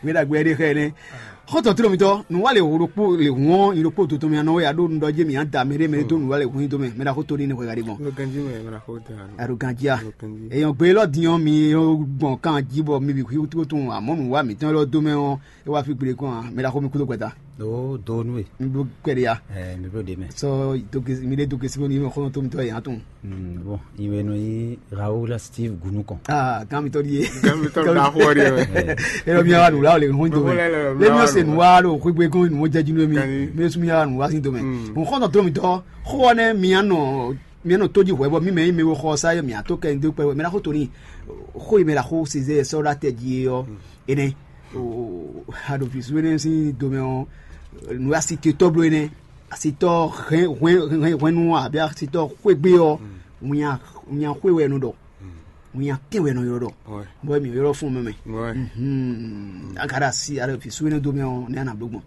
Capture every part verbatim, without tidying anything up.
Wé ɖagbe ɖé xɛ nɛ. Xɔtɔn tlɔ mitɔ, nǔwa le ho ɖokpó le hɔn yi ɖokpó to tɔn mi anɔ ya ɖo nɖɔ jɛ mi ada mɛ ɖe mɛ ɖe to nǔwa le hun yi to mɛ mɛ ɖa xo to ni ne xɔ ga ɖe gbɔn. Lo ganji mɛ mɛ na xo da. Aro ganji a. Lo ganji. Eyɔn gbe lɔ diɲɔ mi yɔ gbɔn kan ji bɔ mi bi hu to tun amɔ nǔwa mi tɔn lɔ do mɛ ɔ e wa fi gble kɔn a mɛ ɖa xo mi kudo gbɛta. Do do nu e. Mi blo kpɛ de ya. Ɛ mi blo de mɛ. Sɔ do kesi mi de do kesi bɔ ni xɔtɔn to mitɔ yan tun. Mm, bon, iwe nɔ yi Raoul Steve Gunukɔn. Ah, kan mitɔ di ye. Kan mitɔ da xɔ de. Ero mi awa nula o le hun do mɛ. Le mi se nua lo xwe gbe ko nu jɛ jinu mi. Mi su mi awa nua sin do mɛ. Hun xɔnɔ to mi tɔ. Xɔ ne mi anɔ mi anɔ to ji hwɛ bɔ mi mɛ mi wo xɔ sa ye mi ato kɛ ndo kpɛ mi la xo to ni. Xo yi mi la xo size sɔ la tɛ ji yɔ. Ene. O ha do fi su ne sin do mɛ o. Nu asi te tɔ blo ene. Asitɔ hɛn hwɛn hwɛn hwɛnnu ɔ abe asitɔ xwegbe ɔ, nya nya xwe wɛ nɔ ɖɔ, nya tɛn wɛ nɔ ylɔ ɖɔ, bɔ mi ylɔ fún mɛ mɛ. Agara si ale fi suwene do mɛ ɔ ne ana do gbɔn.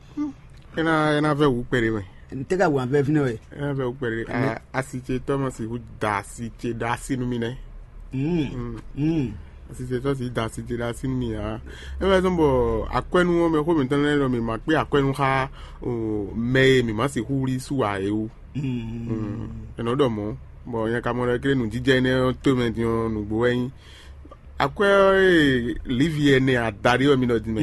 Ena ena vɛ wu kpɛɖe mɛ. N tɛ ka wu avɛ fi nɛ wɛ. Ena vɛ wu kpɛɖe. Asi ce tɔ ma si hu da asi ce da asi nu mi nɛ. Asi ce tɔ si da asi ce da asi nu mi ya. E wɛ zɔn bɔ akwɛnu ɔmɛ xo mi tɔn lɛ lɔ mi ma kpe akwɛnu xa o mɛ e mi ma si hu wuli su a e wu. Enɔ ɖɔ mɔ bɔ nyɛ ka mɔ ɖɔ kele nujijɛ nɛ to mɛ din ɔ nugbo wɛ nyi. Akwɛ e livi ɛnɛ adaɖi wɛ mi nɔ din mɛ.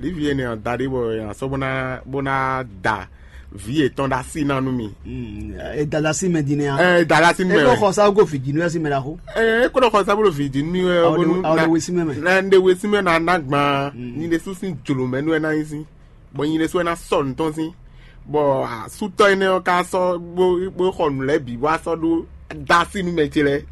Livi ɛnɛ adaɖi bɔ yàn sɔ bó ná bó ná da vi yětɔn ɖo asi ná nú mi. Edalasi mɛ din nɛ a. Ɛ dalasi mɛ. Eko xɔ sa ko fiji nu ɛsi mɛ la xo. Ɛ eko ɖɔ xɔ sa bolo fiji nu mi wɛ. Awo de wesi mɛ mɛ. Na nde wesi mɛ na na gban nyi ɖe susu jolo mɛ nu ɛ na yi si. Bɔ nyi ɖe su ɛ na sɔ nutɔn si. Bɔ asutɔ yi nɛ ɔ ka sɔ bo bo xɔ nu lɛ bi bɔ asɔ ɖo dasi nu mɛ ce lɛ.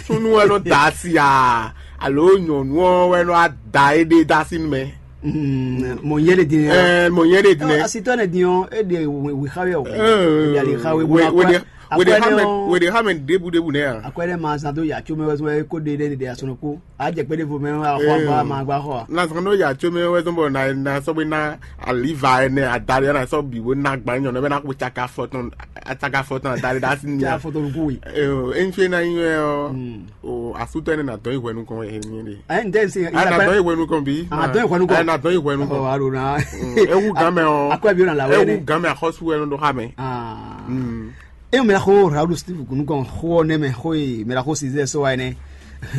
Sunu wɛ nɔ da asi a alo nyɔnu ɔ wɛ nɔ da eɖe dasi nu mɛ. Mɔ yɛ de din. Ɛɛ mɔ yɛ de din. Asitɔ ne din ɔ e de wi xa wɛ o. E de ali xa wɛ bo na kɔ. Wede xa mɛ wede xa mɛ debu debu nɛ yan. Akwɛ ɖe ma zan do yatso mɛ wɛ sɔ ko de ɖe de asɔnɔ ko. A jɛ kpe ɖevo mɛ wɛ a xɔ agba ma agba xɔ a. Na zan do yatso mɛ wɛ sɔ bɔ na na sɔ be na aliva ɛnɛ adali na sɔ bi wo na gba nyɔ nɔ bɛ na ko tsaka fɔtɔn atsaka fɔtɔn adali da si nya. Tsaka fɔtɔn ko wi. Ee, enfe na yi wɛ ɔ. O asutɔ ne na dɔn yi hwɛ nukɔn wɛ hɛn mi de. Ɛ n tɛ se. A na dɔn yi hwɛ nukɔn bi. A dɔn yi hwɛ nukɔn. A na dɔn yi hwɛ nukɔn. Ɔ alo na. Ewu gan mɛ ɔ. Akɔ bi o na la wɛ ne. Ewu gan mɛ akɔsu wɛ nɔ do xa mɛ. Aa. E mɛ xo Raoul Steve kunu kɔn xo ne mɛ xo e mɛ xo sizɛ sɔ wa ne.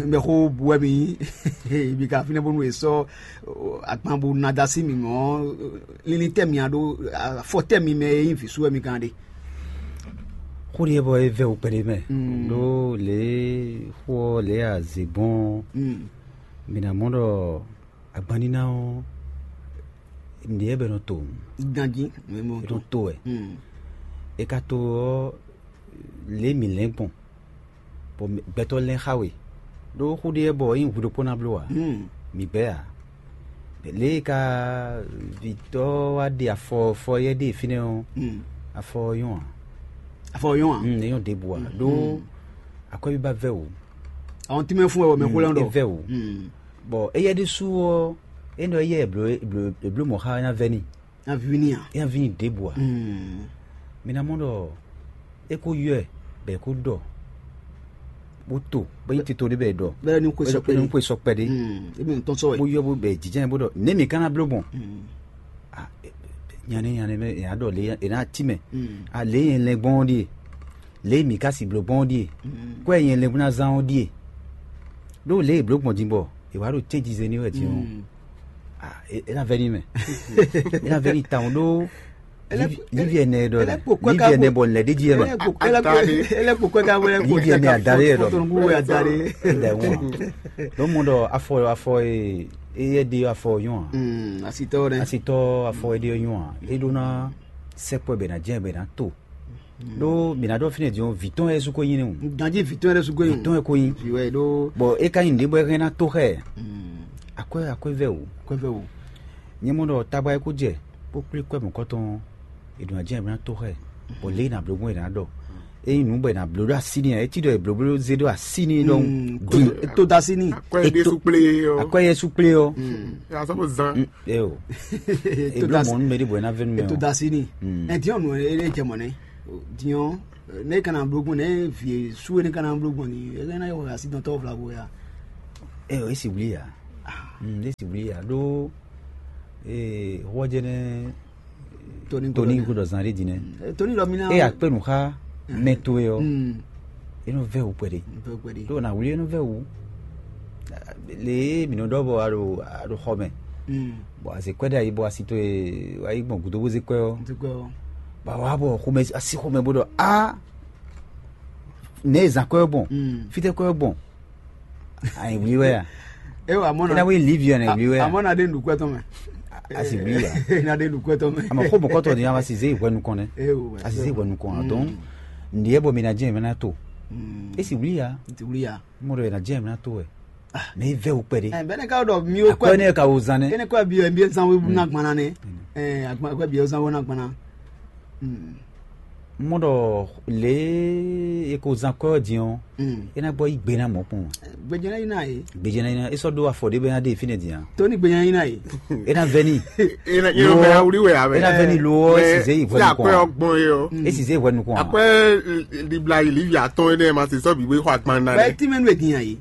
Mɛ xo buɛ mi. Bi ka fine bonu e sɔ agban bo na da si mi mɔ. Lili tɛ mi a do afɔ tɛ mi mɛ e yin visu wɛ mi kan de. Xó ɖiɛ bɔ é vɛ wú kpɛɖé mɛ ɖó lě xó ɔ́ lě e a zě gbɔn ɔ́, mǐ ná mɔ ɖɔ agbanníná ɔ́ nǔɖé bɛ nɔ to ganjí. Nɔ to wɛ. É ka to ɔ́, lě mǐ lɛ́n gbɔn bɔ gbɛtɔ́ lɛ́n xá we ɖó xó ɖé bɔ é nyí hwi ɖokpó ná bló ǎ. Mǐ bɛ́ ǎ. Lě e ka vǐtɔ́ wá ɖe afɔ fɔ yɛ ɖe fínɛ́ ɔ́, afɔ ɔ́ nyɔ́ ǎ. Afɔ ɔ́ nyɔ́ ǎ. Mm, é nyɔ́ ɖěbǔ ǎ ɖó akwɛ́bíbá vɛ́ wǔ. Àwọn tí mɛ fún ẹ wɔ mɛ xó lɛ́ ɖɔ. É vɛ́ wǔ. Bɔ éyɛ́ ɖésú ɔ́, é nɔ éyɛ́ è blǒ è blǒ mɔ̌ xá ná vɛ́ n'i. Ná ví n'i ǎ. É ná ví n'i ɖěbǔ ǎ. Mi ná mɔ ɖɔ é kó ylɔ́ ɛ bɔ è kó ɖɔ bó to bó nyí tito ɖé bɔ è ɖɔ bɛlɛ ní xwe sɔ kpɛɖé. Ní xwe sɔ kpɛɖé. Ebi ŋutɔn sɔ wɛ. Bó ylɔ́ bó bɛ jǐjɛ́n bó ɖɔ nɛ̌ mǐ ka ná bló gbɔn? Nyanɛ nyanɛ mɛ è nǎ ɖɔ lě è nǎ tí mɛ. Alě nyɛ lɛn gbɔn ɔ́ ɖíe, lě mǐ ka si bló gbɔn ɔ́ ɖíe, kwɛ́ nyɛ lɛn bó ná zán ɔ́ ɖíe. Ɖó lě è blǒ gbɔn din bɔ è wǎ ɖo cɛ́njize ní wɛ din ɔ́, é ná vɛ́ ní mɛ. É ná vɛ́ ní tawun ɖó. Livi ɛnɛ ɖɔ lɛ livi ɛnɛ bɔ lɛ ɖe jí yɛ mɛ. Livi ɛnɛ a da ɖe yɛ ɖɔ. Ɛdɛ ŋu a. Ɖo mu ɖɔ afɔ afɔ e eyɛ ɖe afɔ yɔn a. Asitɔ ɖe. Asitɔ afɔ e ɖe yɔn a. E ɖo na sɛkpɔ bɛ na jɛ bɛ na to. Ɖó mǐ ná ɖɔ fínɛ́ din ɔ́, vǐ tɔn wɛ é sú ko nyí nú. Ganjí vǐ tɔn wɛ é sú ko nyí. Vǐ tɔn wɛ ko nyí. Vǐ wɛ ɖó. Bɔ é ka nyí nǔɖé bɔ é hɛn ná tó xɛ. Akwɛ́ akwɛ́ vɛ o. Akwɛ́ vɛ o. Nyɛ mɔ ɖɔ tagba e kó jɛ kpó kplé kwɛ́ mɔ̌kɔtɔn ɔ́, è ɖǒ ná jɛ è ná tó xɛ. Bɔ lě e è nǎ bló gbɔn è nǎ ɖɔ. Ényí nǔ bɔ è nǎ bló ɖó así n'i ǎ, é cí ɖɔ è blǒ bló zé ɖó así n'i ɖɔhun. Din. Tó dó así n'i. Akwɛ́ ɖésú kplé ɔ́. Akwɛ́ yɛ sú kplé ɔ́. Azɔ́ ko zán. Eo. È bló mɔ̌ nú mɛ ɖé bɔ é ná vɛ́ nú mɛ ɔ́. È tó dó así n'i. Ɛ diɔ nǔ e jɛ mɔ̌ nɛ́. Diɔ ne kana bló gbɔn ne vǐ sú e ne kana bló gbɔn ni e na yɔ asi dɔn tɔ́ vlago ya. Eo, é si wlí ya. Ɖé si wlí ya ɖó hwɔjɛnɛ Tony Tony Gordon. Gordon zan ɖé din nɛ. Tony lɔ mi na. Eye akpé nǔ xá mɛ towe ɔ́, é nɔ vɛ́ wǔ kpɛɖé. Ɖó na wlí é nɔ vɛ́ wǔ. Le e mǐ nɔ ɖɔ bɔ a ɖo a ɖo xɔ mɛ, bɔ a zě kwɛ́ ɖ'ayǐ bɔ asi towe wá yi gbɔn gǔdo bó zé kwɛ́ ɔ́, bɔ a wá bɔ xomɛ asi xomɛ bó ɖɔ a nɛ̌ e zan kwɛ́ ɔ́ gbɔn, fítɛ́ kwɛ́ ɔ́ gbɔn. Ayi wlí wɛ a? Ewa amɔ É na na wí livi ɔ́ nɛ wlí wɛ a? Amɔ na ɖe nukú ɛtɔn mɛ. Asi wlí ya. Na ɖe nukú ɛtɔn mɛ. Àmọ́ xó mɔ̀kọ́tọ̀ ni a ma si zé ìwé nukɔn nɛ. Ewo. A si zé ìwé nukɔn a dɔn. Ǹdí ɛ bɔ mi na jẹ́ ìmẹ́ na to. É si wlí ya. Ti wuli ya. Mo ɖɔ yɛ na jẹ́ ìmẹ́ na to wɛ. Mɛ yi vɛ wò kpɛɖé. Ɛ bɛnɛ ka ɖɔ mi o Akɔ kɔ. Ne ka wò zan nɛ. Ene kɔ bi bi zan wo na gbana ne. Ɛ agba kɔ bi zan wo na gbana. Mɔ ɖɔ lě e ko zán kɔ́ ɔ́ din ɔ́, é ná gbɔ yí gbe ná mɔ̌ kpɔn. Gbejɛ ná yi ná yě. Gbejɛ ná yi ná é sɔ́ ɖó afɔ ɖé bɛ ná ɖe fínɛ́ din a? Tó ní gbejɛ ná yi ná yě. É ná vɛ́ ní. Yɛn mɛ awuli wɛ abɛ. É ná vɛ́ ní lo ɔ́, é sì zé yi hwɛ nukɔn. Akɔ́ ɔ́ gbɔn é ɔ́. É sì zé yi hwɛ nukɔn. Akɔ́ libla yi livi atɔ́n énɛ́ ma se sɔ́ bǐ bó yi xɔ agban ná Bɛ lɛ. Tí mɛnu è din a yě.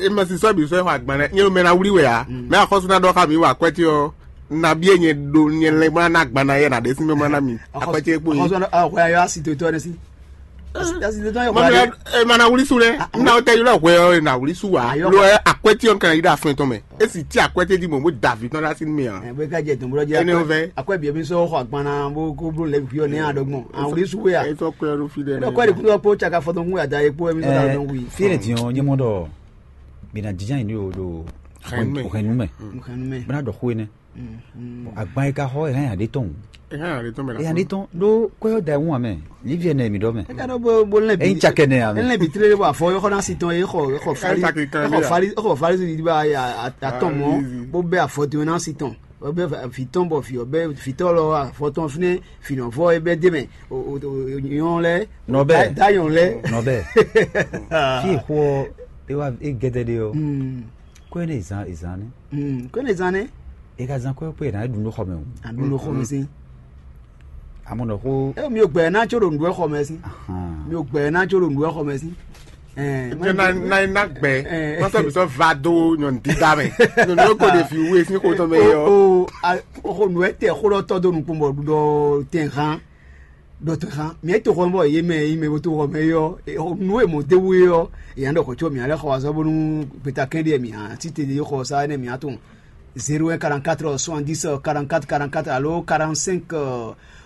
E ma si sɔ́ bǐ sɔ́ xɔ agban lɛ. Nyɛ mɛ na wlí wɛ a? Mɛ axɔ́sú ná ɖɔ xá mi wɔ akwɛ́tí ɔ́. Nabi e nyɛ ɖo nyɛ lɛn bó ná ná agban ná yɛ na ɖe sín mɛ bó ná ná mi. Akwɛ́tí e kpo yi. Xɔsɔ ɔ xɔ ayɔ asi to tɔ ne si. Asi to tɔ yɔ Mami xɔ. E ma na wuli su lɛ. N na tɛ yɔ hwɛ ɔ na wuli su wa. Ayɔ. Lo ɛ akwɛ́tí ɔ́ kan yi ɖe afɛn tɔn mɛ. E si ti akwɛ́tí di mɔ bó da vi tɔn ɖe asi mi a. Ɛ bɛ ka jɛ tɔn bolo jɛ. Ene o vɛ. Akwɛ bi mi sɔ xɔ agban na bó ko blo lɛ vi ɔ ne a dɔgbɔn. A wuli su ya. E tɔ kɔ ɛrú fi dɛ. Ɛ kɔ de kun ko tsaka fɔtɔn kun ya da ye kpo mi sɔ da dɔn wi. Fi le diɔn nyemɔ dɔ. Bina jijan yi ni o do. Hɛn mɛ. Hɛn mɛ. Hɛn mɛ. Bana dɔ xo ne. Agban yi ka xɔ hɛn ya de tɔn. Hɛn ya de tɔn mɛ. Ya de tɔn do kɔyɔ da ŋu amɛ. Liviɛ nɛ mi dɔ mɛ. Eka dɔ bo bo lɛ bi. Eyin cakɛ nɛ amɛ. Lɛ bi tere bo afɔ yɔ xɔ na si tɔn ye xɔ xɔ fali. Xɔ fali xɔ fali si di ba ya atɔn mɔ. Bo bɛ afɔ tɔn na si tɔn. Bɛ fi tɔn bɔ fi bɛ fi tɔ lɔ afɔ tɔn finɛ finɔfɔ ye bɛ de mɛ. Nyɔ lɛ. Nɔbɛ. Dayɔn lɛ. Nɔbɛ. Fi xɔ e wa e gɛdɛ de yɔ. Kɔe ne zan ezan ne. Kɔe ne zan ne. E ka zan kɔe kɔe na e dun ɖo xɔ mɛ o. A dun ɖo xɔ mɛ si. Amɔ nɔ ko. E mi o gbɛ na tso ɖo nɖu xɔ mɛ si. Mi o gbɛ na tso ɖo nɖu xɔ mɛ si. Ɛɛ Jɛ na na na gbɛ. Kɔsɔ mi sɔ va do nyɔnu dida mɛ. Nyɔnu ko de fi wu esi ko tɔn mɛ yɔ. O o xɔ nu ɛ tɛ xɔ lɔ tɔ do nukun bɔ ɖuɖɔ tɛ hàn. Dɔtɔ hã mɛ to xɔ bɔ ye mɛ yi mɛ bo to xɔ mɛ yɔ. Nu e mɔ de wu yɔ. Yan dɔ xɔ tso mɛ alɛ xɔ azɔ bonu gbeta kɛn de mɛ a ti te de xɔ sa ne mɛ a tɔn. Zéro un quarante-quatre soixante-dix quarante-quatre quarante-quatre alo quarante-cinq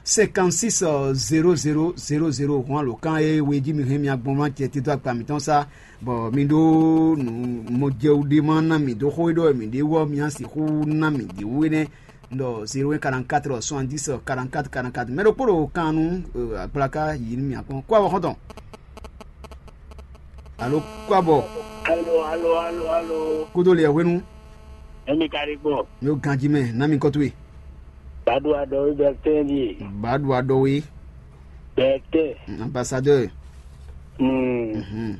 cinquante-six zéro zéro zéro zéro hɔn alo kan e we ji mi hɛn mi agbɔn ma cɛ tito akpa mitɔn sa. Bɔ mi ɖo nu mɔjɛwu ɖe ma na mi do xɔ ɖɔ mi ɖe wɔ mi asi xu na mi ɖe wu ne. Ɖɔ zéro un quarante-quatre soixante-dix quarante-quatre quarante-quatre mɛ ɖokpó ɖo kan nu. Akplaka yi mi akpɔn kó awɔ xɔntɔn. Alo kó abɔ. Alo alo alo alo. Kódó lè hwenu. Emi ka ɖi gbɔ. Mi o ganji mɛ na mi kɔtue. Badu adɔ wi bɛtɛ di. Badu adɔ wi. Bɛtɛ. Ambassadeur. Hmm. Mhm.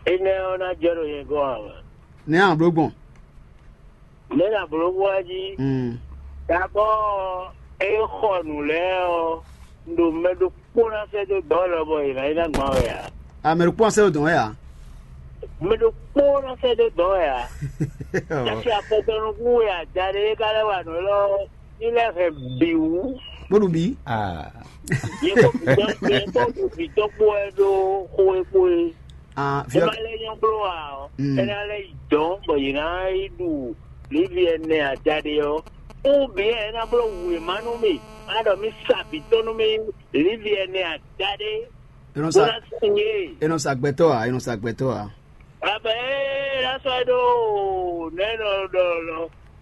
Ene ona jɛ ɖo yɛ gɔ awa. Ne an blo gbɔn. Mɛ na blo wá jí. Mm. Dabɔ e xɔ nǔ lɛ́ɛ ɔ́, ɖo mɛ ɖokpó ná sɛ́ dó dɔ̌ lɔ bɔ yě ná yi ná gbɔn wɛ ǎ. Amɛ ɖokpó ná sɛ́ dó dɔ̌ wɛ ǎ. Mɛ ɖokpó ná sɛ́ dó dɔ̌ wɛ ǎ. Kasi afɔtɔnukún wɛ ada ɖé ka lɛ́ wa nǔ lɔ ní lɛ́ hɛn bǐ wú. Bó ɖu bǐ. Ah. Yě kó bǐ tɔn yě kó bǐ tɔn kpó wɛ ɖó xó e kpó é. Ah, É má lɛ́ nyɔ́ bló ǎ ɔ́, Mm. é ná lɛ́ yi dɔ̌n bɔ yě ná yi ɖu lǐvi ɛnɛ adaɖé ɔ́. Ou bien é ná bló wěma nú mì, á ɖɔ mì sa vǐ tɔn nú mì lǐvi ɛnɛ adaɖé, È nɔ bó sa ná sin yé. È nɔ sa gbɛtɔ́ ǎ, è nɔ sa gbɛtɔ́ ǎ. Abɛ é ná sɔ́ é ɖó nɛ̌ nɔ ɖɔ lɔ,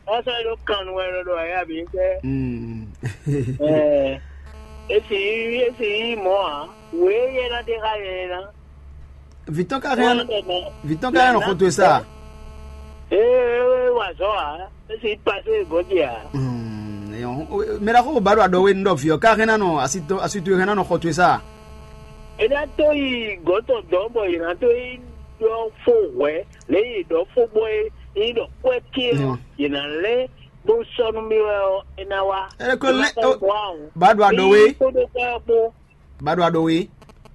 ná sɔ́ é ɖó kan nu wɛ nɔ ɖɔ ayá bǐ tɛ. Mm. Ɛ, esi esi yi mɔ ǎ, wě yɛ ná ɖe xá yɛ ná. Vitɔn ka hɛn vitɔn ka hɛn xɔtɔe sa. Ee, wa zɔ a, esi pase gɔdi a. Mɛ ɖaxó ba ɖo aɖɔwe nu ɖɔ viɔ ka hɛn nanɔ asitɔ asitɔ hɛn nanɔ xɔtɔe sa. Ena to yi gɔtɔ dɔ bɔ yina to yi dɔ fo hwɛ le yi dɔ fo bɔ yi yi dɔ kɔɛ ke ɔ yina lɛ bó sɔ nu mi wɛ ɔ ena wa. Ele ko lɛ ba ɖo aɖɔwe. Kpódó kpɔ́ kpó. Ba ɖo aɖɔwe.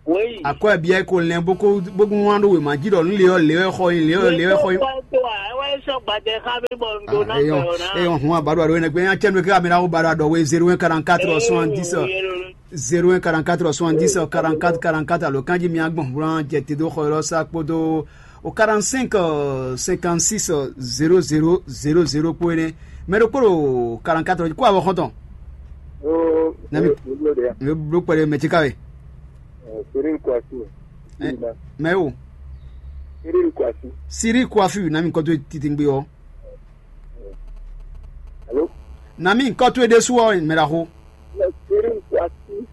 Wéyi. Akɔ ɛbia ko lɛn bó ko bó ko wán ɖó wěma jí ɖɔ nú le ɔ́ le ɔ́ xɔ nyi le ɔ́ le ɔ́ xɔ nyi. Wéyi tó wá tó wá, é wá é sɔ́ gbadɛ xá mì bɔ un ɖó ná gbɛ ɔ́ ná. Eyɔn, hun abaɖo aɖo enegbe nya cɛnu ke amina wo baɖo aɖo we zéro un quarante quatre soixante dix zéro un quarante quatre soixante dix quarante quatre quarante quatre alo kanji mi agbɔn hlan jɛ te do xɔ yɔrɔ sa kpodo o quarante cinq cinquante six zéro zéro zéro zéro kpo ene. Mɛ ɖokpó ɖo quarante quatre kó awɔ xɔntɔn. Nami mi blo kpɛɖe mɛ cika we. Cyril Kouassi. Mɛ o. Cyril Kouassi. Cyril Kouassi nami kɔto titingbe ɔ. Allô? Nami kɔto ɖésú ɔ mɛ ɖaxó. Cyril Kouassi.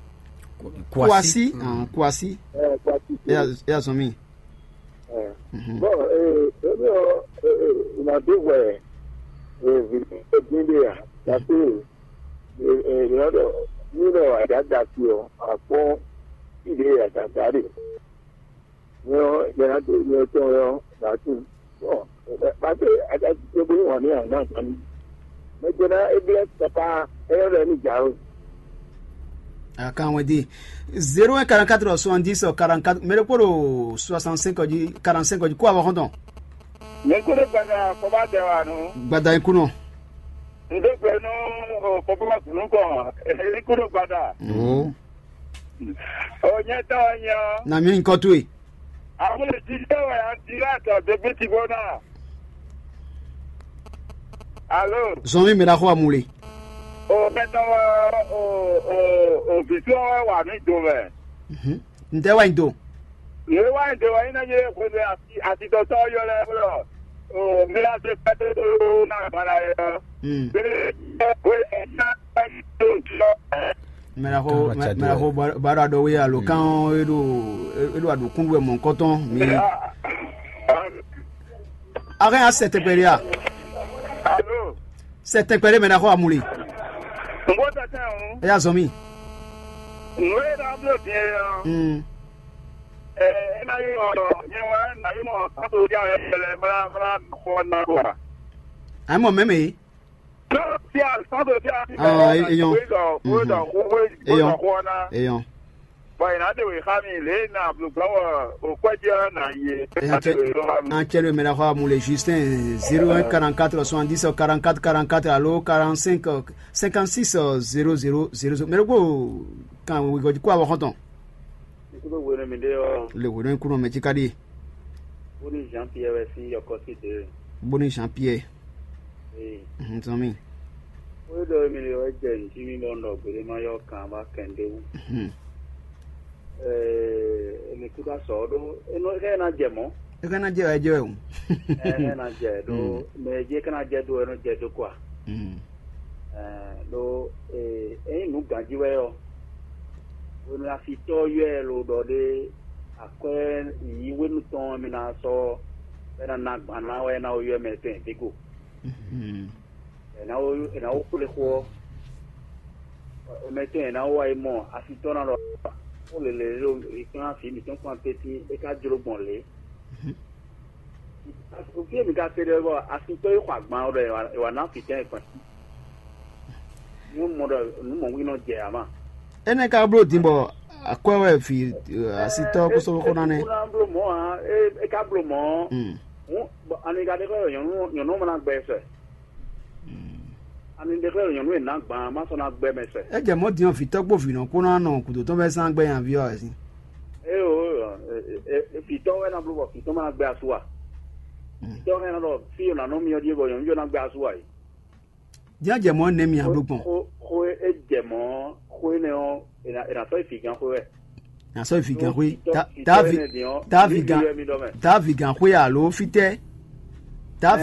Kouassi. Kouassi. Kouassi. Eya zɔn mi. Bon, eh, eh, eh, eh, il m'a dit, ouais, eh, vite, bien, bien, parce que Yɔ̌dɔ nínú àdáda fi ɔ́, àkpɔ́n ìdí àdáda ɖe. Nyɛ ɔ́, nyɛ ná dó nyɛ tɔn ɔ́ ná tunwun. Bɔn pàṣẹ àdáda tó bó wà ní àná àgbáni. Mɛ jẹ́ ná é blɛ́ papa, é yɔ́ lɛ ní jǎwe. Akan wɛn di zéro un quarante quatre soixante dix quarante quatre mɛ ɖokpó ɖo soixante cinq jí quarante cinq jí kó awɔ xɔntɔn. Mɛ kó ɖo gbada kɔba dɛ wa nɔ. Gbada yín kú nɔ. N ɖe gbɛ nú kɔkɔma gblǔ kɔn. Ní kú ɖo gbada. Ó. Ò nyɛ tɔn nya. Na mi nyí kɔ towe. Àwọn èjì tẹ́ wẹ̀ á ti láti ọ̀dọ̀ bí ti gbóná. Alo. Zɔn mi mɛ ɖaxó amule. O mɛtɔ o o o vǐtú ɔ́ wɛ wà ní do mɛ. N tɛ wá nyi do. Yě wá nyi do wá nyi ná yé xwedó asitɔtɔ yɔ lɛ wlɔ. O mi la se pɛtɛ tó ná gbala yɛ. Mɛɖaxo mɛɖaxo baɖo aɖɔwe alo kan e ɖo e ɖo aɖukún wɛ mɔ̌kɔtɔn mi. Axe ya sɛ tɛgbɛ ɖe a? Sɛ tɛgbɛ ɖe mɛɖaxo amuli. Nbó tɛtɛ o. Eya zɔn mi. Nú e ɖɔ bló din e ɔ. Mm. Ɛ ɛ ná yí ɔ nyɛ wá ná yí mɔ sátó dí ayɔ pɛlɛ bla bla kɔ ná kɔ. Àyè mɔ mɛmɛ yìí. Eyɔn. Eyɔn. Bɔn yìí ná de wè xá mi lě ná blùgbɔn wɔ òkpɛjɛ ná yé. An cɛlo mɛ na xɔ amule Justin zéro un quarante quatre soixante dix quarante quatre quarante quatre alo quarante cinq cinquante six zéro zéro zéro zéro mɛ ɖokpó kan wegɔji kó awɔ xɔntɔn. Ikú tó wéne mi ɖé ɔ́. Le wéne kúnɔ mɛ tí ká ɖíe. Bóní Jean Pierre wɛ sín yɔkɔ sí dě. Bóní Jean Pierre. Ee. Mhm, tɔn mi. Wé ɖɔ mi le wɛ jɛ ntí mi bɔ nɔ gbéɖé ma yɔ kan ba kɛn ɖé wú. Mhm. Ɛɛ, mi kú ká sɔ ɖó enɔ ɛ ná jɛ mɔ. Ɛ ká ná jɛ wɛ jɛ wɛ o. Ɛ ɛ ná jɛ ɖó mɛ jɛ ká ná jɛ ɖó ɛ nɔ jɛ ɖó kɔa. Mhm. Ɛɛ, ɖó ee, ɛ nyí nǔ ganjí wɛ ɔ. Hwenu afitɔ yɔ ɛ lo ɖɔ ɖé akwɛ́ yǐyí hwenu tɔn mi ná sɔ́ bɔ é ná ná gban ná wɛ é ná wá ylɔ́ mɛ tɛn dě go. È nǎ wó è nǎ wó xwlé xó ɔ́, mɛ tɔn è nǎ wó wá yi mɔ afitɔ́ ná ɖɔ xó lělé ɖo è kplán vǐ mǐtɔn kplán tɛ́ntin é ká jló gbɔn lě. Fí e mi ka se ɖe bɔ afitɔ́ yi xɔ agban ɔ́ ɖɔ è wǎ ná fǐtɛ́n e kpɛn. Nyɔ́ mɔ ɖɔ nǔ mɔ̌ nɔ jɛ ǎ ma. Énɛ́ ka bló din bɔ akwɛ́ wɛ vǐ asitɔ́ kó sɔ́ xó ná nɛ́. Kó ná bló mɔ̌ ǎ, é é ka bló mɔ̌ ɔ́. Hǔn bɔ ani ka ɖe xlɛ́ ɖɔ nyɔ̌nu nyɔ̌nu ɔ́ ma ná gbɛ sɛ. Ani ɖe xlɛ́ ɖɔ nyɔ̌nu e nǎ gbǎn má sɔ́ ná gbɛ mɛ sɛ. É jɛ mɔ̌ din ɔ́, vǐtɔ́ kpó vǐnɔ kpó ná nɔ gǔdo tɔn vɛ́ zán gbɛ nyaví ɔ́ wɛ sín. Éyo, vǐtɔ́ wɛ ná bló bɔ vǐtɔ́ ma ná gbɛ asú a? Vǐtɔ́ hɛn ná ɖɔ fí e nǎ nɔ myɔ ɖíe bɔ nyɔ̌nu ná gbɛ asú a? Jɛ́n jɛ mɔ̌ nɛ́ mì abló gbɔn. Xó e jɛ mɔ̌ xó énɛ́ ɔ́, è nǎ sɔ́ yi fǐgán xwé wɛ. Nǎ sɔ́ yi fǐgán xwé. Tá vǐgán tá vǐgán xwé alo fítɛ́? Tá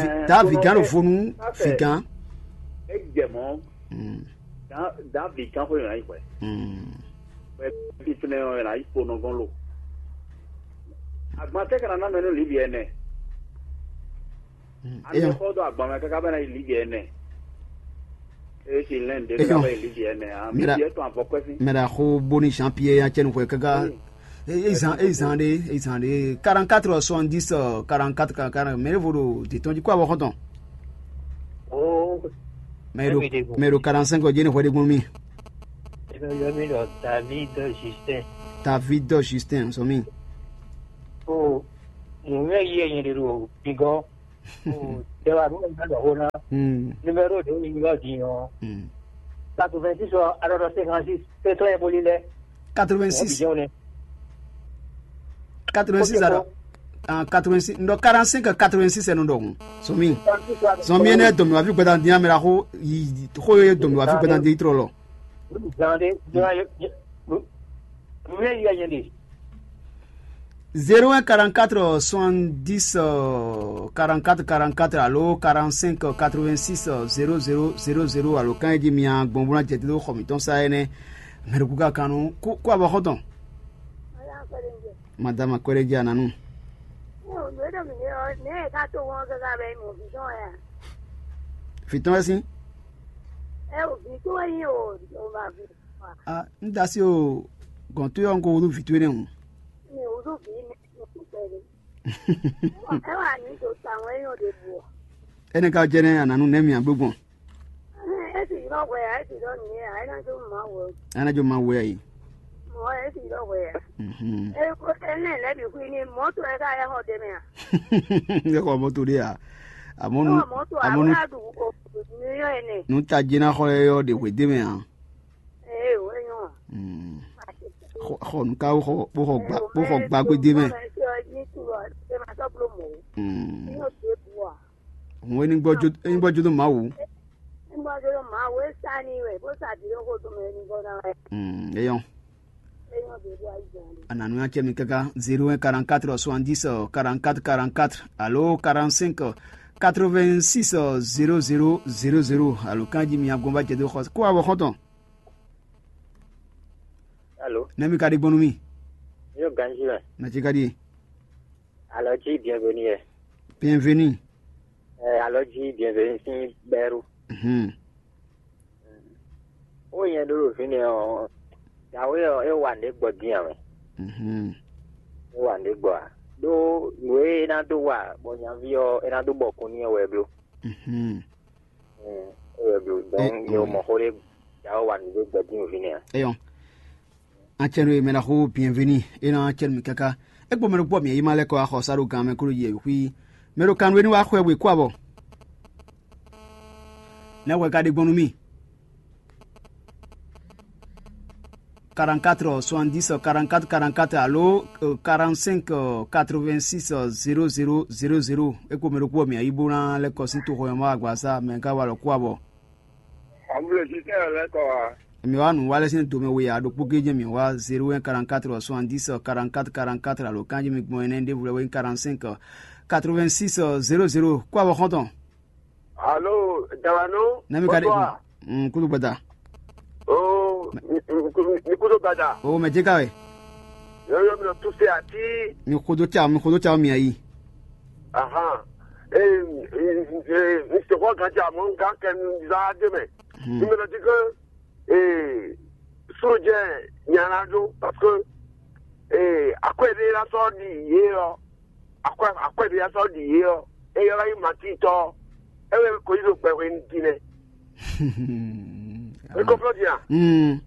vǐgán ɖo vo nú fǐgán. É jɛ mɔ̌. Dǎ vǐgán xwé è nǎ yi hwɛ. Hwɛ fífínɛ́ ɔ́, è nǎ yi kpo nɔ gɔ́n lo. Agban tɛ́ ka ná ná mɛ nú lǐvi ɛnɛ? Ami xɔ dó agban mɛ káká bɛ ná yi lǐvi ɛnɛ. Esi lɛn ɖe ká bɛ yi lǐvi ɛnɛ. Ami lǐvi ɛtɔn avɔ kɔ́ sí. Mɛ ɖa xo bóni Jean Pierre ya cɛnu xwɛ káká. Ezan ezan ɖe ezan ɖe quarante quatre soixante dix quarante quatre quarante quatre mɛ ɖevo ɖo detɔn jí kó avɔ xɔtɔn. Mɛ ɖo mɛ ɖo quarante cinq jí ne xwɛ ɖe gbɔn mi. Ebe yɔ mi ɖɔ David Justin. David Justin sɔ mi. O nùmí yí ẹyin ɖe ɖo gbígbɔ. Ɖɛwa nú ɛ ɖɔ xó ná. Hmm. Numéro ɖě nyí ɔ́ din ɔ́. Hmm. Quatre-vingt-six ɔ, alɔ cinquante-six, c'est très poli lɛ. Quatre-vingt-six. Jɛn ne. Quatre-vingt-six. Ok, alɔ. Bon. Ah, quatre-vingt-six, non, quarante-cinq, quatre-vingt-six, c'est non, donc. Somi. Somi, ne domino afi gbɛdan dia mera xo yi xo ye domino afi gbɛdan di trɔ lɔ. Zande, zande, zande. Zéro un quarante-quatre soixante-dix quarante-quatre quarante-quatre alo quarante-cinq quatre-vingt-six zéro zéro zéro zéro alo kan e jí mi gbɔn bó ná jɛ dó xɔ mǐtɔn sa énɛ́. Mɛɖeku ka kan nú kó abɔ xɔ́ntɔn. Madame Akwɛɖɛjɛ Ananu. Fitɔn wɛ sin. Ah, n da si o gɔn to yɔ n ko wudu vi to ne o. Mi wudu vi ne. Ɛ wa ni do ta wɛ yɔ de bu. Ene ka jɛ ne Ananu ne mi agbo gbɔn. E ti lɔ wɛ ya, e ti lɔ ni ya, e na jo ma wɛ. Ana jo ma wɛ yi. Mo e ti lɔ wɛ ya. Mhm. E ko ene le bi kui ni moto e ka ya ho de me a. Ne ko moto de ya. Amonu. Moto amonu. Amonu du ko ni yo ene. Nu ta jina xɔ yɔ de hwe de me a. Ee, wɛ nyɔ. Mm. Xɔ xɔ nukawo xɔ bó xɔ gba bó xɔ gba gbede mɛ. Mm. Hɔn enigbɔ jo enigbɔ jo do Mawu. Enigbɔ jo do Mawu e sa ni wɛ bó sa di ló xo do mɛ enigbɔ na wɛ. Mm. Eyɔn. Eyɔn de bó ayi jan. Ananu ya cɛ mi kaka zéro un quarante-quatre soixante-dix quarante-quatre quarante-quatre alo quarante-cinq quatre-vingt-six zéro zéro zéro zéro alo kanji mi agbɔnba jɛ do xɔ kó abɔ xɔntɔn. Alo. Nɛmi ka ɖi gbɔn nú mì. Yóò ganjí wɛ. Nà cí ka ɖi. Alɔ jí bienvenue yɛ. Bienvenue. Ɛ alɔ jí bienvenue sín bɛ́rú. Mhm. Ó nyɛ ɖó ɖo fínɛ́ ɔ́, dǎwe ɔ́ é wa nǔ ɖé gbɔ dín ǎ mɛ. Mhm. É wa nǔ ɖé gbɔ ǎ. Ɖó nǔ e é ná dó wa bɔ nyaví ɔ́ é ná dó bɔkun n'i ɔ́ wɛ é bló. Mhm. Mm, é wɛ bló. Donc mi ò mɔ xó ɖé dǎwe wa nǔ ɖé gbɔ dín o fínɛ́ ǎ. Eyɔn. Acɛnwe mɛ na xo bienveni e na acɛn mi kaka. Ekpo mɛ ɖokpɔ mi yi ma lɛ kɔ axɔ sa ɖo gan mɛ klo yi xwi. Mɛ ɖo kan we ni wa xwɛ we kó abɔ. Ne xwɛ ka ɖe gbɔn nú mi. Quarante-quatre soixante-dix quarante-quatre quarante-quatre alo quarante-cinq quatre-vingt-six zéro zéro zéro zéro. Ekpo mɛ ɖokpɔ mi yi bó ná lɛ kɔ sín toxo yɔn ma agba sa mɛ ka wa lɔ kó abɔ. Emi wa nǔ wa lɛ́ sín domɛ we a ɖokpó géjɛ mi wa zéro un quarante-quatre soixante-dix quarante-quatre quarante-quatre alo kanjí mi gbɔn ɛnɛ ɖěvo lɛ́ wɛ nyí quarante-cinq quatre-vingt-six zéro zéro kó abɔ xɔ́ntɔn. Alo, Dawano. Nami ka ɖe. Bonsoir. Mm, kudu gbada. Oh, mi kudu gbada. Oh, mɛ jeka wɛ. Yo yo mi nɔ tuse ati. Mi kodo tsa mi kodo tsa mi ayi. Ahan. Eh, eh, eh, mi se ko kan tsa mo kan kɛ za de mɛ. Hmm. Mi nɔ di ke eh sojɛ nyana do parce que eh akwɛ de la sɔ di ye ɔ. Akwɛ akwɛ de la sɔ di ye ɔ. E yɔ yi mati tɔ. E wɛ ko yi do gbɛ we ni di nɛ. E ko fɔ di a. Mm.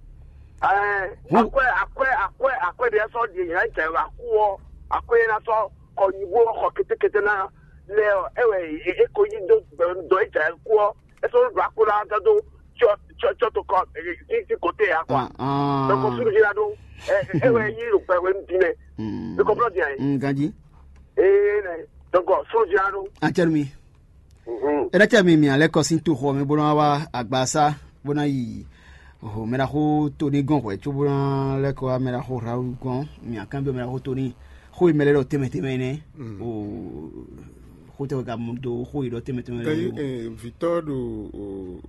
Eh, akwɛ akwɛ akwɛ akwɛ de la sɔ di ye la jɛ wa ku ɔ. Akwɛ la sɔ kɔ nyibo xɔ ketekete na lɛ ɔ. E wɛ e ko yi do gbɛ dɔ e jɛ ku ɔ. E sɔ do akpo la da do tsɔ tsɔ tsɔ to kɔ ti ti kote ya quoi. Ah, ah. Donc suru di la do. E e wɛ yi do gbɛ we ni di nɛ. Mm. E ko fɔ di a ye. Mm, ganji. Ee nɛ. Donc suru di la do. Acɛrɛ mi. Mhm. Ena cɛ mi mi alɛ kɔ sin to xɔ mi bó ná wá agbasa bó ná yi ho mɛ ná xó to ní gɔn hwɛ có bó ná lɛ kɔ wá mɛ ná xó Rawu gɔn mi akán bí mɛ ná xó to ní xó yi mɛ lɛ ɖɔ tɛmɛ tɛmɛ nɛ. Mm. O xó tɛ ka mu do xó yi ɖɔ tɛmɛ tɛmɛ Kanyi nɛ. Eh, vitɔ ɖo o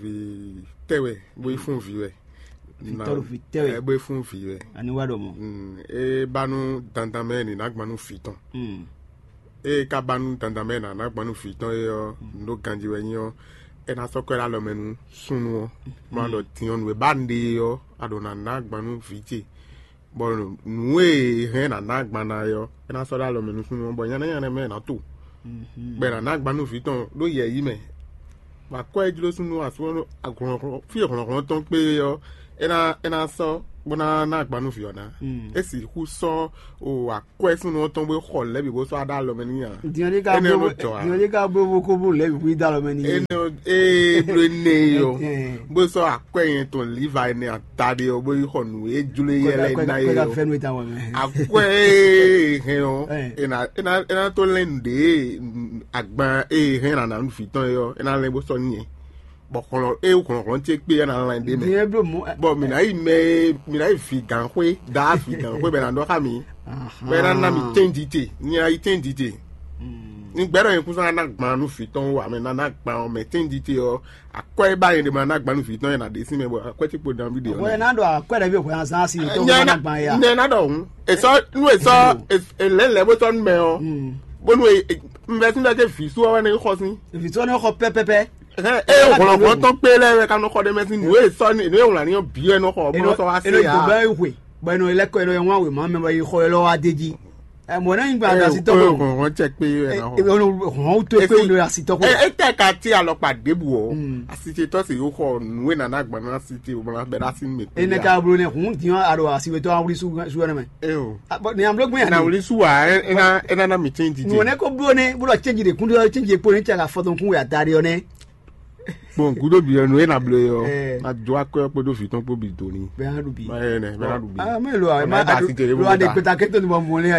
vi tɛwɛ bó yi fún vi wɛ. Vitɔ ɖo vi tɛwɛ. Eh, bó yi fún vi wɛ. Ani wá ɖɔ mɔ. Mm, e ba nú dandan mɛ ni ná gban nú vi tɔn. Mm. Eye ka ba nú dandan mɛ nǎ ná gban nú vǐ tɔn é ɔ́, nǔ ɖo ganjí wɛ nyí ɔ́, é ná sɔ́ kɔ ɛ ɖó alɔ mɛ nú súnnu ɔ́, bó ná ɖɔ din ɔ́, nǔ e ba nɖe é ɔ́, a ɖǒ ná ná gban nú vǐ ce, bɔ nǔ e è hɛn ná ná gban ná é ɔ́, é ná sɔ́ ɖó alɔ mɛ nú súnnu ɔ́, bɔ nyanya nyanya mɛ è nǎ to, bɔ è nǎ ná gban nú vǐ tɔn ɖó yɛ̌yi mɛ, bɔ akwɛ́ e jló súnnu ɔ́ asú ɔ́ ɖó hlɔ̌nhlɔ́n fí e hlɔ̌nhlɔ́n tɔn kpé é ɔ́, é ná é ná sɔ́ bó ná ná agban nú vǐ ɔ́ ná. É sixú sɔ́ o akwɛ́ súnnu ɔ́ tɔn bó xɔ lɛ̌ bǐ bó sɔ́ aɖá alɔ mɛ n'i ǎ. Diɔn ɖé ka Énɛ́ bló nɔ jɔ ǎ. Diɔn ɖé ka bló vo kó bló lɛ̌ bǐ xwí dó alɔ mɛ n'i. Énɛ́ ɔ́, ee bló énɛ́ e ɔ́, bó sɔ́ akwɛ́ nyɛ tɔn Liva énɛ́ ata ɖé ɔ́, bó yi xɔ nǔ e jló e yɛ lɛ́ɛ ná é ɔ́. Akwɛ́ e hɛn ɔ́, é ná é ná é ná tó lɛ́n nǔɖé agban e hɛn ná ná nú vǐ tɔn é ɔ́, é ná lɛ́n bó sɔ́ n'i. Bɔ hlɔn e hlɔnhlɔn ce kpé ná lan ɖé mɛ. Bɔ mǐ ná yi mɛ e mǐ ná yi vǐgánxwé, daa vǐgánxwé bɛ ná ɖɔ xá mǐ. Bɛ ná ná mì tɛ́nji te, ní ná yi tɛ́nji te. Ní gbɛ́ ɖɔ nyɛ kún sɔ́ ná ná gban nú vǐ tɔn wú ǎ, mɛ ná ná gban ɔ́ mɛ tɛ́nji te ɔ́, akwɛ́ e ba nyɛ ɖe ma ná gban nú vǐ tɔn yɛ ná ɖe sín mɛ bɔ akwɛ́ ce kpo dan ví ɖe. Wɛ ná ɖɔ akwɛ́ ɖɛ̌ ví hwɛ azán asi tó wɛ ná gban ya. Nyɛ ná ɖɔ hǔn, e sɔ́ nú e sɔ́ e lɛ̌ lɛ̌ bó sɔ́ nú mɛ ɔ́, bónú e e- un vɛ sín vɛ ké vǐ sú ɔ́ wɛ ní xɔ sín. Vǐ sú ɔ́ ní xɔ pɛ́pɛ́pɛ́. Hɛn, e hlɔ̌nhlɔ́n tɔn kpé lɛ́ɛ wɛ ka nɔ xɔ ɖé mɛ sín nǔ e sɔ́ nǔ e wlǎn ní ɔ́ bǐ wɛ nɔ xɔ bó nɔ sɔ́ wá se ǎ. Bɛ hwe bɔ ɛnɔ lɛ́ kɔ ɛnɔ yɛ wán wěma mɛ bɔ yi xɔ ɛlɔ wá dé jí. Mɔ̌ náà nyí gba asi tɔxɔ. Hlɔ̌nhlɔ́n cɛ kpé wɛ nɔ xɔ. Hɔn tó kpé wɛ asi tɔxɔ. E tɛ ka ti alɔkpa ɖěbǔ ɔ́, asi ce tɔ́ se yóò xɔ nǔ e nana gban ná asi ce bɔ bɛ ná sí mɛ. Ene ka blo ne hun diɔ alo asi wetɔ awuli su su ne mɛ. Eo. Ni amlo gbin na ani. Wuli su wa e na e na na mi change di. Nɔ ne ko blo ne blo change de kun do change po ne cɛ ka fɔtɔn kun ya dari ɔ ne. Bon, gudo bi ɔnu e na blo yɔ. Na do akɔ kpo do vitɔn kpo bi do ni. Bɛ na du bi. Ma ye ne bɛ na du bi. Ah, mais lo a ma da si tere lo a de peta keto ni bɔ mo ne.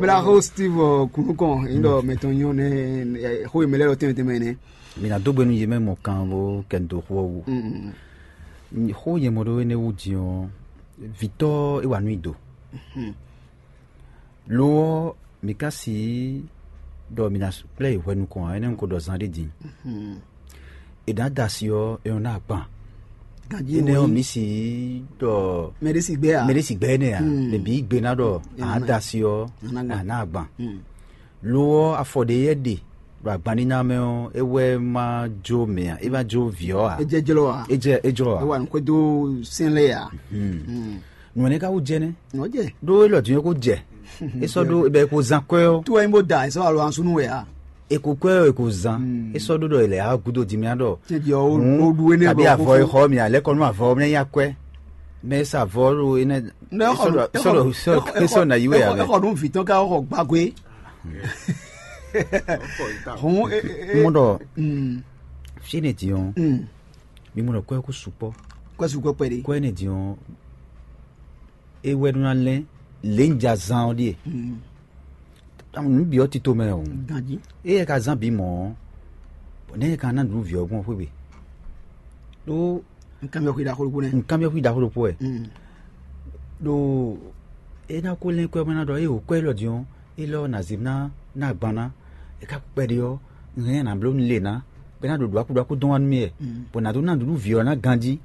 Bla ho Steve kunukɔn indo meton yo ne ho imele lo teme teme ne. Mi ná dó gbe nú yě mɛ mɔ kan bó kɛ nu dó xú ɔ́ wú. Xó nyɛ mɔ ɖó énɛ́ wú din ɔ́, vǐtɔ́ é wa nú i do. Lo ɔ́, mi ka si ɖɔ mi ná kplá yi hwɛ nukɔn ǎ, énɛ́ un ko ɖɔ zan ɖé din. È nǎ da asi ɔ́, é nɔ ná agban. Énɛ́ ɔ́, mi si ɖɔ mɛɖé si gbɛ ǎ. Mɛɖé si gbɛ énɛ́ ǎ, mɛ bǐ gbe ná ɖɔ a nǎ da asi ɔ́, a nǎ agban. Lo ɔ́, afɔ ɖě yɛ ɖe ɖo agbanníná mɛ ɔ́, é wɛ ma jó mɛ ǎ, é ma jó vǐ ɔ́ ǎ. É jɛ jlɔ́ ǎ. É jɛ é jlɔ́ ǎ. É wa nǔ xwedó sɛn lɛ́ɛ ǎ. Nǔ énɛ́ ka wú jɛ nɛ́. Nǔ jɛ. Ɖó élɔ́ din é ko jɛ. É sɔ́ ɖó bɛ é ko zán kwɛ́ ɔ́. Tó wɛ nyí bó da ɛ sɔ́ alo ansúnú wɛ ǎ. È ko kwɛ́ ɔ́, è ko zán. É sɔ́ ɖó ɖɔ è lɛ á gúdo din mì á ɖɔ. Cɛ́ jí ɔ́, ó ɖu énɛ́. Kabi avɔ e xɔ mì ǎ, lɛ́ kɔ nú avɔ ɔ́, mɛ nyí akwɛ́. Mɛ e sa avɔ ɖo énɛ́. Nɛ é xɔ nú é xɔ nú é xɔ nú vǐ tɔn ká xɔ gbàgbé. Hɔn é é Mɔ ɖɔ mm, fíɛnɛ din ɔ́, mm, mi mɔ ɖɔ kwɛ́ kú sukpɔ́. Kwɛ́ sukpɔ́ kpɛɖé. Kwɛ́ nɛ din ɔ́, é wɛ nú ná lɛ́n lě un ja zán ɔ́ ɖíe. Mm. Nǔ bǐ ɔ́ tito mɛ o. Ganjí. Éyɛ́ ka zán bǐ mɔ̌ ɔ́, bɔ nɛ̌ ka ná nǔ vǐ ɔ́ gbɔn xwé gbe? Ɖó Nkanbyɔ́ xwé ɖaxó ɖokpó nɛ́. Nkanbyɔ́ xwé ɖaxó ɖokpó wɛ. Mm. Ɖo é ná ko lɛ́n kwɛ́ bó ná ɖɔ é wǒ kwɛ́ élɔ́ din ɔ́, élɔ́ ná zě ná ná agban ná. É ka kpɛɖé ɔ́, un hɛn ná bló un le ná, bɔ é ná ɖo ɖo akú ɖo akú dɔn wá nú mì wɛ. Mm. Bɔ nǎ dó ná nǔɖuɖu vǐ ɔ́ ná ganjí.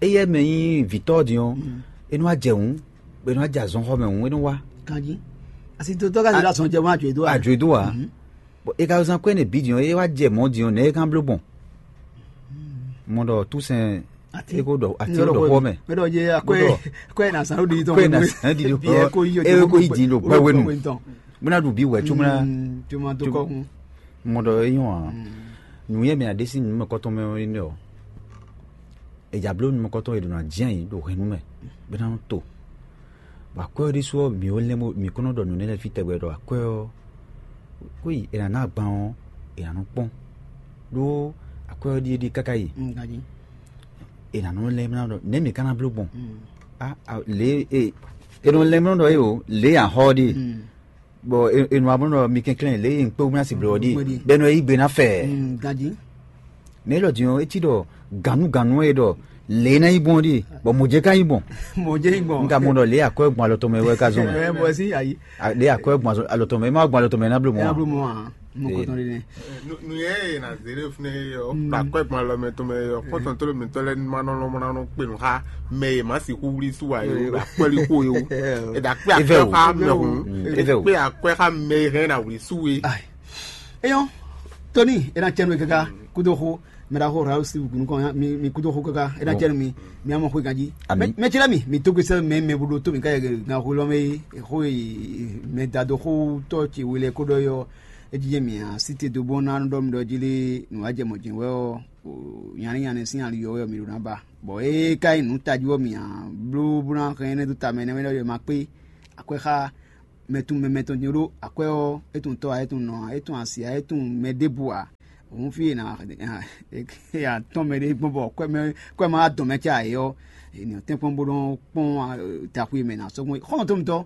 Éyɛ́ mɛ nyí vǐtɔ́ ɔ́ din ɔ́, mm, é nɔ wá jɛ hǔn, bɔ é nɔ wá jɛ azɔn xɔ mɛ hǔn, é nɔ wá. Ganjí. Asi tó tɔ́ ka zé azɔn jɛ mɔ àjò e dó wá. Àjò e dó wá. Mhm. Bɔ é ka zán kwɛ́ nɛ bǐ din ɔ́, é wá jɛ mɔ̌ din ɔ́, nɛ̌ é kan bló gbɔn? Mɔ ɖɔ túsɛn é ko ɖɔ atí lɔ ɖɔ xɔ mɛ. Mɛ ɖɔ yé akwɛ akwɛ na san ɖo ɖi tɔn. Akwɛ na san ɖi ɖo xɔ. É ko yi din ɖo gbɛwenu. Bó ná ɖu bí wɛ tso mla. Tso ma dó kɔ hun. Mɔ ɖɔ é nyɔ a. Nǔnyɛ mɛ aɖé sín nǔmɛkɔtɔn mɛ ɔ́ nɛ ɔ́. È jǎ bló nukɔntɔn e ɖo ná jɛ́n ayǐ ɖo hɛ̌nnu mɛ, bó ná nɔ to. Bɔ akwɛ́ ɔ́ ɖésú ɔ́, mǐ ó lɛ́n bó mǐ kɔn nɔ ɖɔ nǔ nɛ́ lɛ́ɛ fí tɛgbɛ ɖɔ akwɛ́ ɔ́, xwé yi è nǎ ná agban ɔ́, è nǎ nɔ kpɔ́n. Ɖó akwɛ́ ɔ́ ɖíe ɖíe káká yi, è nǎ nɔ lɛ́n bó ná ɖɔ nɛ̌ mǐ ka ná bló gbɔn? Á, á, lě e è nɔ lɛ́n bó ná ɖɔ é o, lě e axɔ ɔ́ ɖíe. Bɔ enu abo nɔ mi kɛnklɛn lě e un kpé wúmɛ asi blɔ ɔ́ ɖi bɛnu e yí gbe ná fɛ. Ganji. Mɛ élɔ́ din ɔ́, é cí ɖɔ gǎnugǎnu e ɖɔ lě e ná yí gbɔn ɔ́ ɖi, bɔ mɔ̌ jɛ ka yí gbɔn. Mɔ̌ jɛ yí gbɔn. Un ka mɔ ɖɔ lě e akwɛ́ gbɔn alɔ tɔn mɛ wɛ ka zɔn mɛ. Ɛ bɔ sí ayi. A- Lě e akwɛ́ gbɔn alɔ tɔn mɛ, e ma gbɔn alɔ tɔn mɛ, e ná bló mɔ. Ɛ na bló mɔ a. Mɔ kɔtɔn ɖe nɛ. Nu yɛ e na zé ɖe fúnɛ yɔ kpakpɛ gbɔn alɔ mɛ tɔn mɛ yɔ kpɔtɔn tó lè mi tɔ lɛ ma nɔ lɔ ma nɔ kpe nu xa mɛ e ma si xu wuli su wa ye o akpɛli xo ye o e da kpe akpɛ xa mɛ hun e kpe akpɛ xa mɛ e hɛn na wuli su ye. Eyɔn, Tony, e na cɛnu kaka kudo xo mɛ da xo ra si gunu kɔn mi mi kudo xo kaka e na cɛnu mi mi amɔ xo ganji. Mɛ cɛ mi mi to gbèsè mɛ mɛ budo to mi ka yɛ gan xo lɔ mɛ xo mɛ da do xo tɔ ce wele ko dɔ yɔ. É jijɛ mì ǎ, sí te dó bó ná ɖɔ mi ɖɔ jí lé nǔ wá jɛ mɔ̌ jɛ́n wɛ ɔ́, nyanɛ́ nyanɛ́ sín ali ɔ́ wɛ mi ɖo ná ba. Bɔ é ka nyí nǔ tají ɔ́, mì ǎ bló bó ná hɛn énɛ́ dó ta mɛ énɛ́ wɛ ɖɔ ma kpé akwɛ́ xá mɛ tun mɛ mɛtɔn din ɖó akwɛ́ ɔ́, é tunwun tɔ́ ǎ, é tunwun nɔ ǎ, é tunwun asi ǎ, é tunwun mɛ ɖěbǔ ǎ. Òun fí e nǎ tɔn mɛ ɖé gbɔn bɔ kwɛ ma wá dɔn mɛ cá ǎ é ɔ́, è nǐ tɛ́nkpɔ́n bó nɔ́ kpɔ́n taxu e mɛ è nǎ sɔ́ gbɔn é. Xɔ́ntɔn mitɔ́,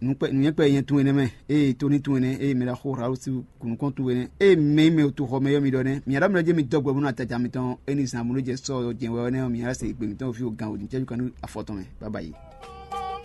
nǔnyɛ́kpɛ́ nyɛ tun énɛ́ mɛ, eye tóní tun énɛ́, eye mɛ ɖaxó Raúl sí kùnúkɔn tun énɛ́, eye mɛ e mɛ toxɔ mɛ yɔ́ mi ɖɔ nɛ́, mǐ ɖɔ mɛ ɖɔ jɛ́n mi dɔ́ gbɛ bó nɔ ataja mitɔn é ní zan bó nɔ́ jɛ sɔ́ jɛ́n wɛ ɔ́ nɛ́ ɔ́, mǐ ná se gbe mǐtɔn fí o gan wǒ ní cɛ́jú kan nú afɔ tɔn mɛ. Bábáyi.